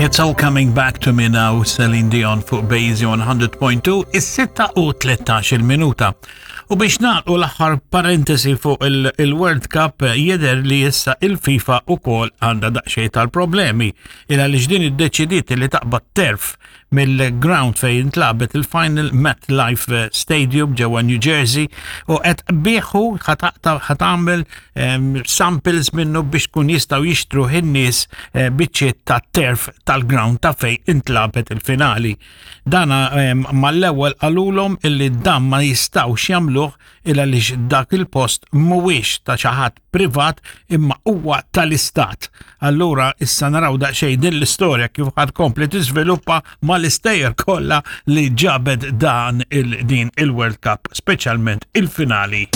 It's all coming back to me now, Celine Dion fuq Bejzi 100.2, is-6 u 13 il-minuta. U biex nagħlqu l-aħħar parentesi fuq il-World Cup jidher li issa il-FIFA ukoll għandha daqsxejn tal-problemi il għaliex din iddeċidiet li taqbad terf mill-ground fejn intlagħbet il-final MetLife Stadium ġewwa New Jersey u qed biħu ħatagħmel ehm, samples minnu biex kun jistgħu jixtru in-nies eh, biċċiet ta' terf tal-ground ta' fejn intlagħbet il-finali. Dana ehm, mal-ewwel qalulhom illi dan ma jistgħux jagħmluh il għaliex dak il-post mhuwiex ta' xi ħadd privat imma huwa tal-istat. Allura issa naraw daqsxejn din l-istorja kif ħad kompli tiżviluppa mal-istejjer kollha li ġabet dan il-din il-World Cup, speċjalment il-finali.